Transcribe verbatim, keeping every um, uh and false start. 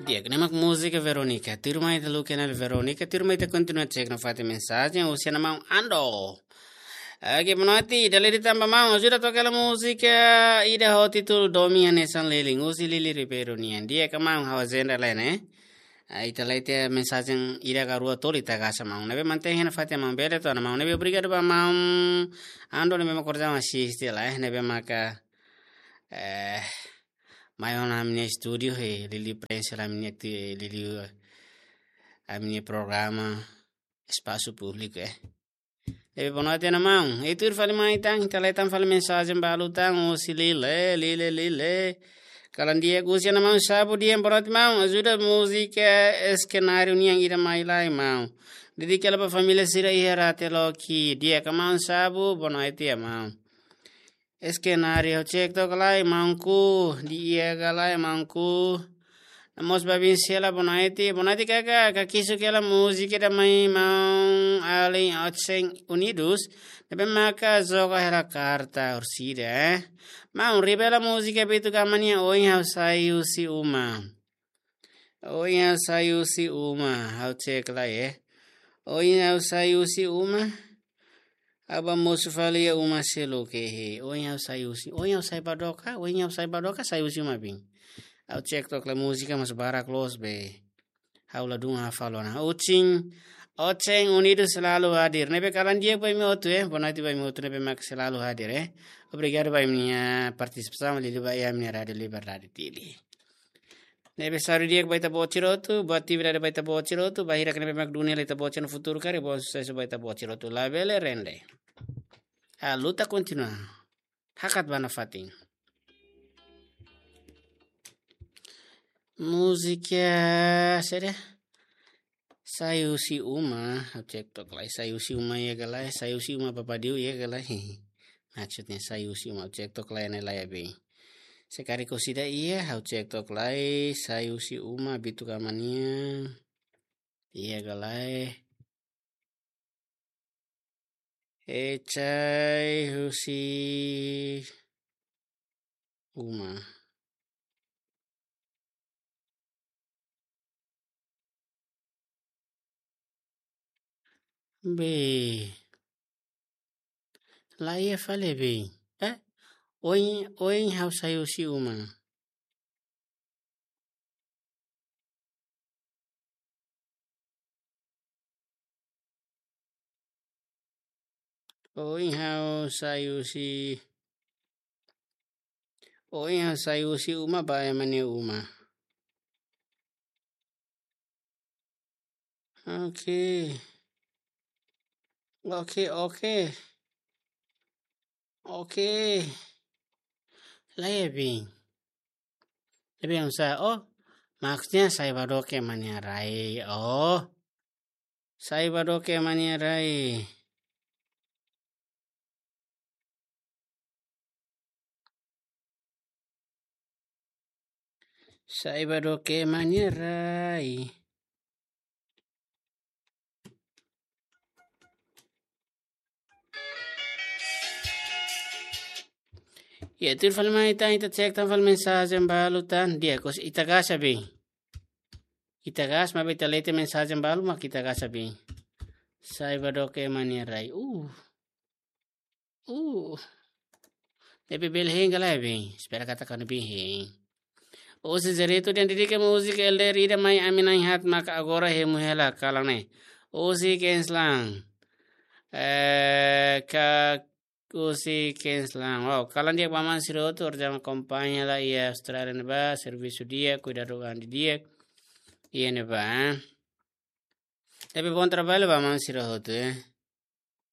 Di'ak, ne'e mak múzika Verónica. Tuirmai ita haluha ona Verónica, tuirmai ita kontinua cek nafatin mensajen, husi maun Ando. Oke, boa noite, dala ida tan ba maun, ajuda toka hela múzika ida ho títulu Domin Hanesan Lelin, husi Lili Ribeiro nian. Di'ak ka maun, ha'u ajenda lai ne'e. Ah, ita lee tiha mensajen ida ka rua tolu ita gasa maun. Ne'ebé mantein hela fatin maun, bele to'o ona maun. Ne'ebé obrigadu ba maun Ando ne'ebé mak orsida asiste lai, eh. Ne'ebé maka, eh, mai ona ami-nia estúdiu, eh, Lili Prensa, ami-nia ti-, Lili, eh, ami-nia programa Espasu Públiku, eh. Ne'ebé boa noite ona maun. Ita tuir fali mai tan, ita lee tan fali mensajen balu tan, husi Lile, Lile, Lile. Kalan di'ak, husi maun Sabu dehan, boa noite maun, ajuda múzika Eskenáriu nian ida mai lai maun. Dedika hela ba família sira iha Rate Loki. Di'ak ka maun Sabu, boa noite maun. Eskenáriu, ha'u cek took lai maunku, di'ak ka lae maunku. Mós ba biin sira boa noite, boa noite kaka, kakisuk hela múzika ida mai maun alin Otseng Unidos, ne'ebé maka joga hela karta orsida, eh. Maun, riba hela múzika Bitu Gama nian, Oin Ha'u Sai Husi Uma. Oin ha'u sai husi uma, ha'u cek lai, eh. Oin ha'u sai husi uma, ha'u ba mosu fali iha uma seluk, eh. Oin ha'u sai husi, oin ha'u sai ba dook, oin ha'u sai ba dook, sai husi uma biin. Ha'u cek took lai múzika mós barak loos be. Ha'u ladún hafal ona. Otseng, Otseng Unidos selalu hadir. Ne'ebé kalan di'ak ba imi hotu, eh. Boa noite ba imi hotu ne'ebé mak selalu hadir, eh. Obrigadu ba imi-nia partisipasaun, liuliu ba iha ami-nia Rádiu Liberdade Dili. Ne'ebé saúde di'ak ba ita-boot sira hotu, boa atividade ba ita-boot sira hotu, bainhira ne'ebé mak duni hela ita-boot sira-nia futuru karik, bom susesu ba ita-boot sira hotu, labele rende. A luta kontinua. Hakat ba nafatin. Múzika saida? Sai husi uma, ha'u cek took lai, sai husi uma iha ka lae, sai husi uma Papadiu iha ka lae. Maksudnya sai husi uma, ha'u cek took lai ne'e lae be. Se karik orsida iha, ha'u cek took lai, sai husi uma Bitu Gama nian iha ka lae. E sai husi uma. Be. Lae fali be. Eh? Oin, oin ha'u sai husi uma. Oin ha'u sai husi, oin ha'u sai husi uma ba ema nia uma. Oke. Oke, oke. Oke. Lae be. Lae be, maksudnya, oh, maksudnya sai ba dook ema nia rai. Oh. Sai ba dook ema nia rai. Sai ba dook ema nia rai. Ya, tuir fali mai tan, ita cek tan fali mensajen balu tan, di'ak, ita gasa be. Ita gasa, maibé ita lee tiha mensajen balu mak ita gasa be. Sai ba dook ema nia rai. Uh. Uh. Ne'ebé bele hein ka lae be. Espera katak kanu be hein. Husi Zereto dehan, dedika múzika Elder ida mai ami na'in-haat maka agora hemu hela kalan ne'e. Husi Queensland. Eh, ka husi Queensland. Wow, kalan di'ak ba maun sira hotu, orsida akompaña hela iha Austrália ne'ebá, servisu di'ak, kuidadu an di'ak iha ne'ebá, eh. Tapi bom trabalho ba maun sira hotu, eh.